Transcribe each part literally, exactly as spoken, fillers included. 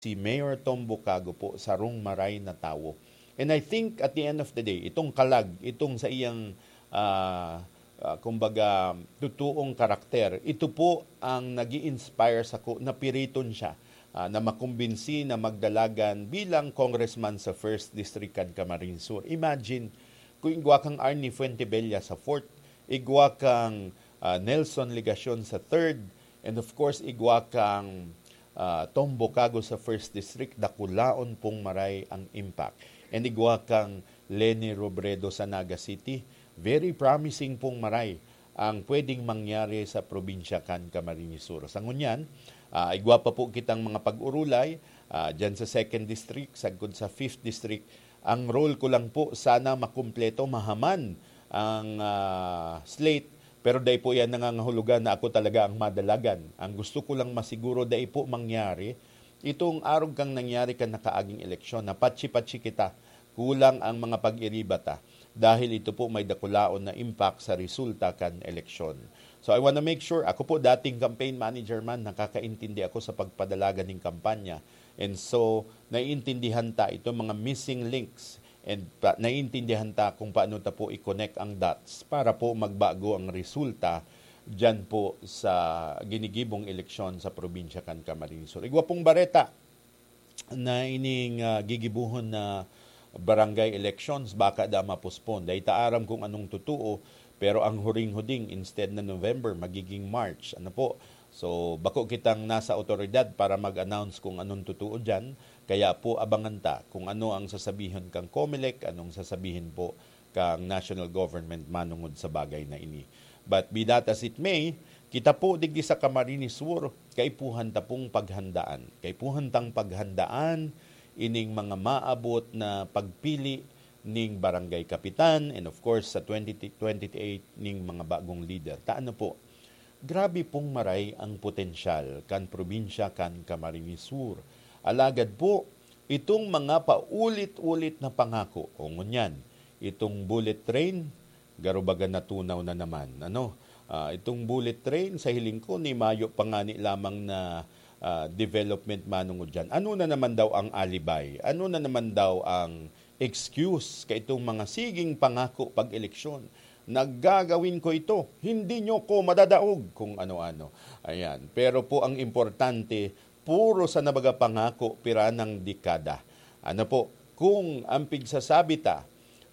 si Mayor Tom Bucago po sarong maray na tawo. And I think at the end of the day, itong kalag, itong sa iyang, ah, ah, kumbaga, totoong karakter, ito po ang nag inspire sako na piriton siya, ah, na makumbinsi na magdalagan bilang congressman sa First District kan Camarines Sur. Imagine, kung igwa kang Arnie Fuentebella sa fourth, igwa kang, ah, Nelson Legacion sa third, and of course, igwa kang, ah, Tom Bucago sa First District, dakulaon pong maray ang impact. And igwa kang Leni Robredo sa Naga City, very promising pong maray ang pwedeng mangyari sa probinsya kan Camarines Sur. Sa ngunyan, ah, igwa pa po kitang mga pag-urulay, ah, dyan sa Second District, sagkod sa Fifth District. Ang role ko lang po, sana makumpleto, mahaman ang, ah, slate, pero dai po yan nangangahulugan na ako talaga ang madalagan. Ang gusto ko lang masiguro, dai po mangyari itong arog kang nangyari kan nakaaging eleksyon, na patsi-patsi kita, kulang ang mga pag-iriba ta, dahil ito po may dakulaon na impact sa resulta kan eleksyon. So I wanna make sure, ako po dating campaign manager man, nakakaintindi ako sa pagpadalagan ning kampanya. And so, naiintindihan ta itong mga missing links and pa, naiintindihan ta kung paano ta po i-connect ang dots para po magbago ang resulta diyan po sa ginigibong eleksyon sa probinsya kan Camarines Sur. Igwa pong bareta na ining, ah, gigibuhon na barangay elections, baka da ma-postpone. Dai ta aram kung anong totoo, pero ang huring-huding, instead na November, magiging March. Ano po? So, bako kitang nasa awtoridad para mag-announce kung anong totoo diyan. Kaya po, abangan ta kung ano ang sasabihon kang Comelec, anong sasabihin po kang national government manungod sa bagay na ini. But be that as it may, kita po digdi sa Camarines Sur, kaipuhan ta pong paghandaan. Kaipuhan tang paghandaan ining mga maabot na pagpili ning barangay kapitan, and of course, sa twenty twenty-eight ning mga bagong lider. Ta ano po, grabe pong maray ang potensyal kan probinsya kan Camarines Sur. Alagad po, itong mga paulit-ulit na pangako, o ngunyan, itong bullet train, garo baga natunaw na naman. Ano? Ah, itong bullet train, sa hiling ko, ni mayo pa ngani lamang na, ah, development manungod diyan. Ano na naman daw ang alibay? Ano na naman daw ang excuse kaitong mga siging pangako pag-eleksyon? "Nagagawin ko ito, hindi nyo ko madadaog," kung ano-ano. Ayan. Pero po ang importante, puro sana baga pangako pira nang dekada. Ano po, kung ang pigsasabi ta,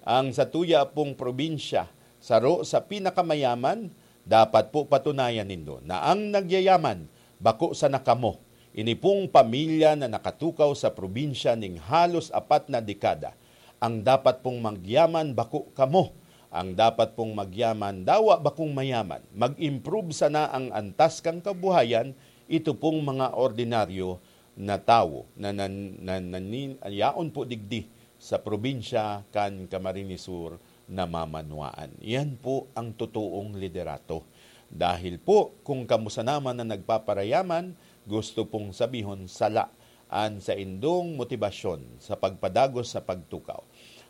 ang satuya pong probinsya, saro sa pinakamayaman, dapat po patunayan nindo na ang nagyayaman, bako sana kamo. Ini pong pamilya na nakatukaw sa probinsya ning halos apat na dekada. Ang dapat pong magyaman, bako kamo. Ang dapat pong magyaman, dawa bakong mayaman. Mag-improve sana ang antas kan kabuhayan, ito pong mga ordinaryo na tawo na nan-, nan-, nanin-, yaon po digdi sa probinsya kan Camarines Sur na mamanwaan. Yan po ang totoong liderato. Dahil po, kung kamo sana man na nagpaparayaman, gusto pong sabihon, sala an saindong motibasyon sa pagpadagos sa pagtukaw.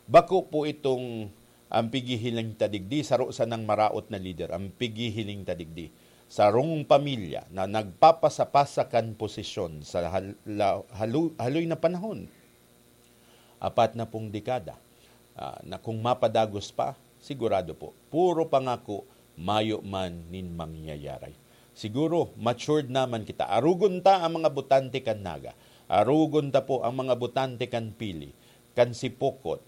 Bako po itong ang pighihiling ta digdi, saro sanang maraot na lider, ang pighihiling ta digdi. Sarong pamilya na nagpapasapasa kan posisyon sa hal-, la-, halo-, haloy na panahon. Apat na pong dekada, ah, na kung mapadagos pa, sigurado po, puro pangako, mayo man nin mangyayari. Siguro, matured naman kita. Arugon ta ang mga botante kan Naga. Arugon ta po ang mga botante kan Pili, kan Sipocot,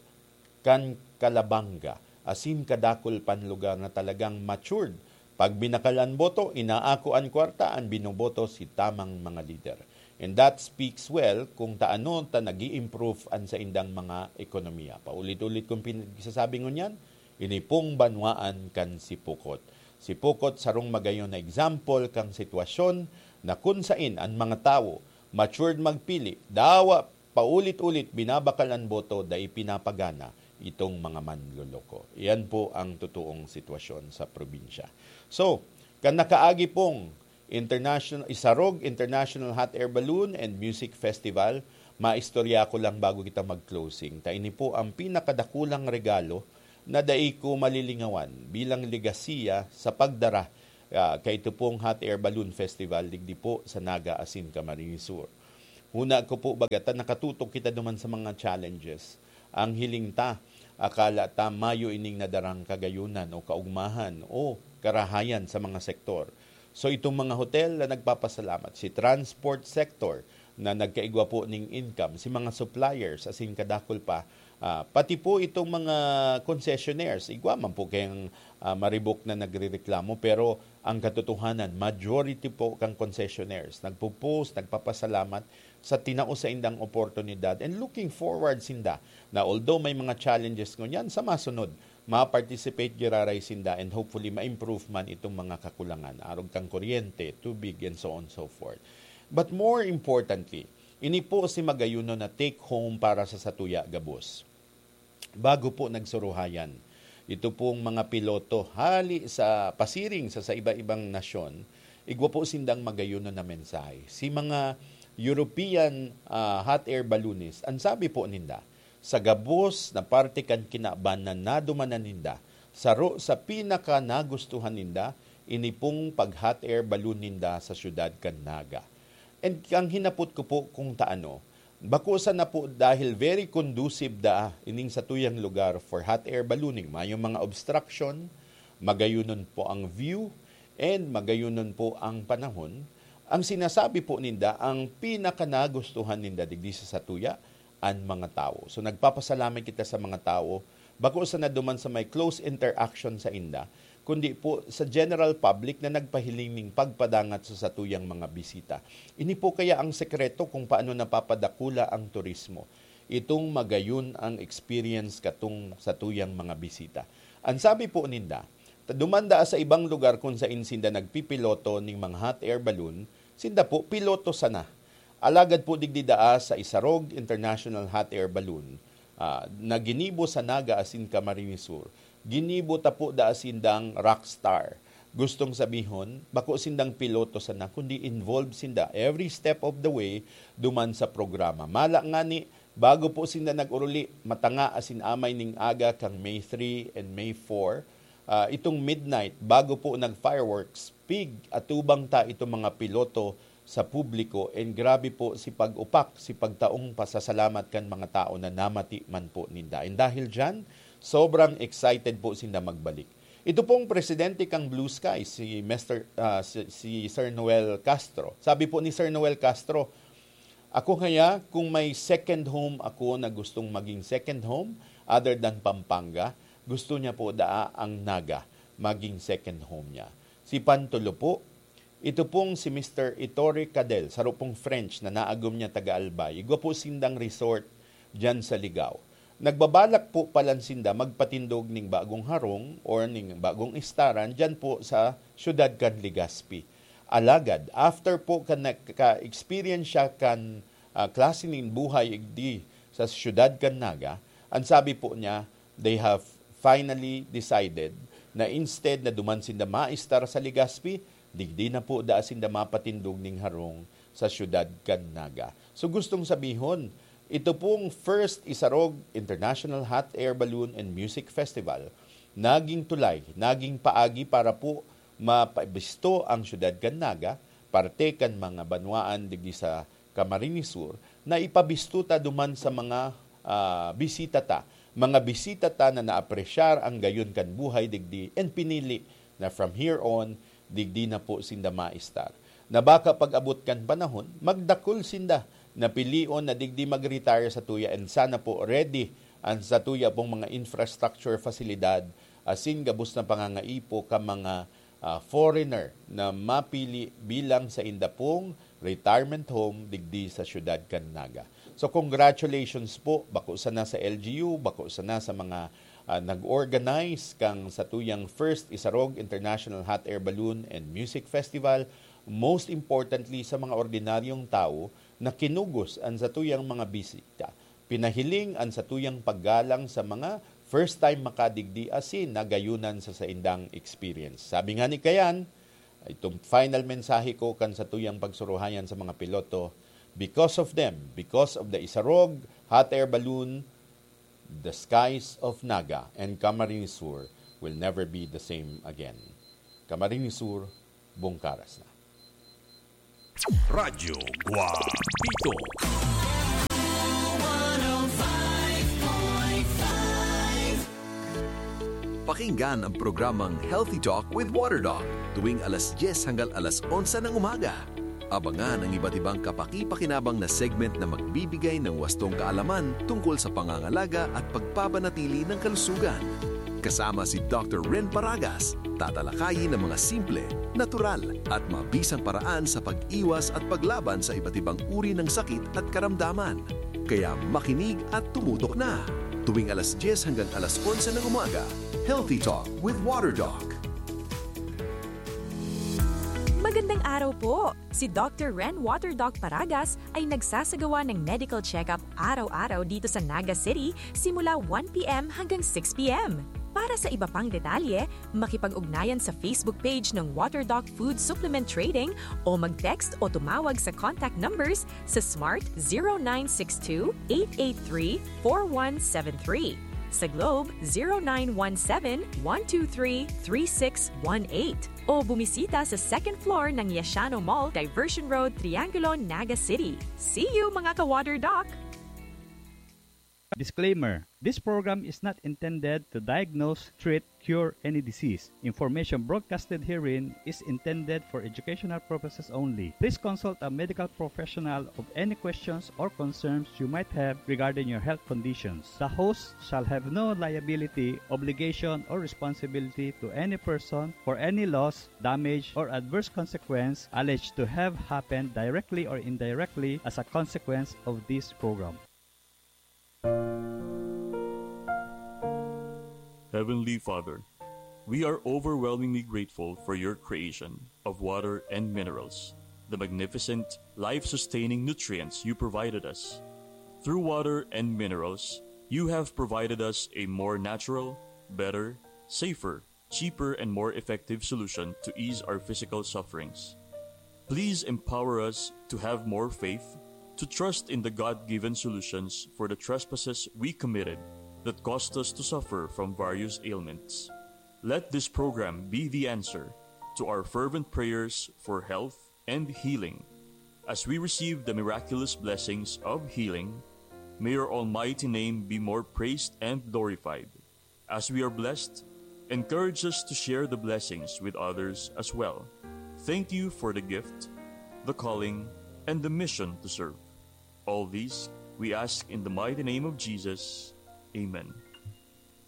kan Calabanga, asin kadakul pan lugar na talagang matured. Pag binakal an boto, inaako an kwarta, an binoboto si tamang mga lider. And that speaks well kung taano ta nag improve an saindang mga ekonomiya. Paulit-ulit kong pinagsasabi ngunyan, ini pong banwaan kan Sipocot. Sipocot sarong magayon na example kang sitwasyon na kun sain an mga tawo matured magpili, dawa paulit-ulit binabakal an boto, dai pinapagana itong mga manloloko. Iyan po ang totoong sitwasyon sa probinsya. So, kan nakaagi pong international, Isarog International Hot Air Balloon and Music Festival, maistorya ko lang bago kita mag-closing. Ta ini po ang pinakadakulang regalo na dai ko malilingawan bilang legasiya sa pagdara, ah, kaito pong Hot Air Balloon Festival digdi po sa Naga asin Camarines Sur. Huna ko po, baga ta nakatutok kita duman sa mga challenges. Ang hiling ta, akala ta mayo ining nadarang kagayunan o kaugmahan o karahayan sa mga sektor. So, itong mga hotel na nagpapasalamat, si transport sector na nagkaigwa po ning income, si mga suppliers, asin kadakul pa, ah, pati po itong mga concessionaires, igwa man po kayang, ah, maribok na nagrereklamo, pero ang katotohanan, majority po kang concessionaires nagpo-post, nagpapasalamat sa tinao saindang oportunidad, and looking forward sinda na, although may mga challenges ngunyan, sa masunod, ma-participate giraray sinda, and hopefully ma-improve man itong mga kakulangan, arog kang kuryente, tubig, and so on and so forth. But more importantly, ini po si magayunon na take home para sa satuya gabos. Bago po nagsuruhayan, ito pong mga piloto hali sa pasiring sa, sa iba-ibang nasyon, igwa po sindang magayunon na mensahe. Si mga European, ah, hot air balloonist, ang sabi po ninda, sa gabos na parte kan kinaban na nadumanan ninda, saro sa pinaka nagustuhan ninda, ini pong pag-hot air balloon ninda sa siyudad kan Naga. And ang hinapot ko po kung taano, bako sana po dahil very conducive daa ining satuyang lugar for hot air ballooning. Mayong mga obstruction, magayunon po ang view, and magayunon po ang panahon. Ang sinasabi po ninda, ang pinakanagustuhan ninda digdi sa satuya, an mga tawo. So, nagpapasalamat kita sa mga tawo, bako sana duman sa may close interaction sainda, kundi po sa general public na nagpahiling ning pagpadangat sa satuyang mga bisita. Ini po kaya ang sekreto kung paano napapadakula ang turismo. Itong magayon ang experience katong satuyang mga bisita. Ang sabi po ninda, ta duman daa sa ibang lugar kung sain sinda nagpipiloto ning mga hot air balloon, sinda po piloto sana. Alagad po digdi daa sa Isarog International Hot Air Balloon, ah, na ginibo sa Naga asin Camarines Sur, ginibo ta po daa sindang rockstar. Gustong sabihon, bako sindang piloto sana, kundi involved sinda every step of the way duman sa programa. Mala ngani, bago po sinda nag-uruli, matanga asin amay ning aga kang May three and May four, ah, itong midnight, bago po nag-fireworks, pig-atubang ta itong mga piloto sa publiko, and grabe po si pag-upak, si pagtaong pasasalamat kan mga tao na namati man po ninda. And dahil diyan, sobrang excited po sinda magbalik. Ito pong presidente kang Blue Sky, si Mister, ah, si, si Sir Noel Castro. Sabi po ni Sir Noel Castro, "Ako ngaya, kung may second home ako na gustong maging second home, other than Pampanga, gusto niya po daa ang Naga maging second home niya." Si Pantulo po, ito pong si Mister Ettore Cadel, saro pong French na naagom niya taga Albay. Igwa po sindang resort diyan sa Ligao. Nagbabalak po palan sinda magpatindog ning bagong harong or ning bagong istaran diyan po sa siyudad kan Legazpi. Alagad, after po kan nagka-experience siya kan, ah, klase nin buhay igdi sa siyudad kan Naga, ang sabi po niya, they have finally decided na instead na duman sinda maistar sa Legazpi, digdi na po daa sinda mapatindog ning harong sa siyudad kan Naga. So, gustong sabihon, ito pong first Isarog International Hot Air Balloon and Music Festival, naging tulay, naging paagi para po mapabisto ang siyudad kan Naga, parte kan mga banwaan digdi sa Camarines Sur, na ipabisto ta duman sa mga, ah, bisita ta. Mga bisita ta na naapresyar ang gayon kan buhay digdi and pinili na from here on, digdi na po sinda maistar. Na baka pag-abot kan panahon, magdakul sinda na pilion na digdi mag-retire satuya, and sana po ready ang satuya pong mga infrastructure fasilidad, asin gabos na pangangaipo ka mga, ah, foreigner na mapili bilang sainda pong retirement home digdi sa siyudad kan Naga. So, congratulations po, bako sana sa L G U, bako sana sa mga, ah, nag-organize kan satuyang first Isarog International Hot Air Balloon and Music Festival, most importantly sa mga ordinaryong tawo na kinugos an satuyang mga bisita. Pinahiling an satuyang paggalang sa mga first time makadigdi asin nagayunan sa saindang experience. Sabi nga ni Kayan, itong final mensahe ko kan satuyang pagsuruhayan sa mga piloto, because of them, because of the Isarog Hot Air Balloon, the skies of Naga and Camarines Sur will never be the same again. Camarines Sur, Bungkaras na. Radyo Guapito. Pakinggan ang programang Healthy Talk with Water Doc tuwing alas dyes hanggang alas onse ng umaga. Abangan ang iba't ibang kapakipakinabang na segment na magbibigay ng wastong kaalaman tungkol sa pangangalaga at pagpapanatili ng kalusugan. Kasama si Doctor Ren Paragas, tatalakayin ang mga simple, natural, at mabisang paraan sa pag-iwas at paglaban sa iba't ibang uri ng sakit at karamdaman. Kaya makinig at tumutok na. Tuwing alas dyes hanggang alas onse ng umaga, Healthy Talk with Water Doc. Magandang araw po! Si Doctor Ren Water Doc Paragas ay nagsasagawa ng medical check-up araw-araw dito sa Naga City simula one p.m. hanggang six p.m. Para sa iba pang detalye, makipag-ugnayan sa Facebook page ng Water Doc Food Supplement Trading o mag-text o tumawag sa contact numbers sa Smart zero nine six two, eight eight three, four one seven three, sa Globe zero nine one seven, one two three, three six one eight o bumisita sa second floor ng Yashano Mall, Diversion Road, Triangulo, Naga City. See you, mga ka-Water Doc! Disclaimer: This program is not intended to diagnose, treat, cure any disease. Information broadcasted herein is intended for educational purposes only. Please consult a medical professional of any questions or concerns you might have regarding your health conditions. The host shall have no liability, obligation, or responsibility to any person for any loss, damage, or adverse consequence alleged to have happened directly or indirectly as a consequence of this program. Heavenly Father, we are overwhelmingly grateful for your creation of water and minerals, the magnificent, life sustaining nutrients you provided us. Through water and minerals, you have provided us a more natural, better, safer, cheaper, and more effective solution to ease our physical sufferings. Please empower us to have more faith, to trust in the God given solutions for the trespasses we committed that caused us to suffer from various ailments. Let this program be the answer to our fervent prayers for health and healing. As we receive the miraculous blessings of healing, may your almighty name be more praised and glorified. As we are blessed, encourage us to share the blessings with others as well. Thank you for the gift, the calling, and the mission to serve. All these we ask in the mighty name of Jesus. Amen.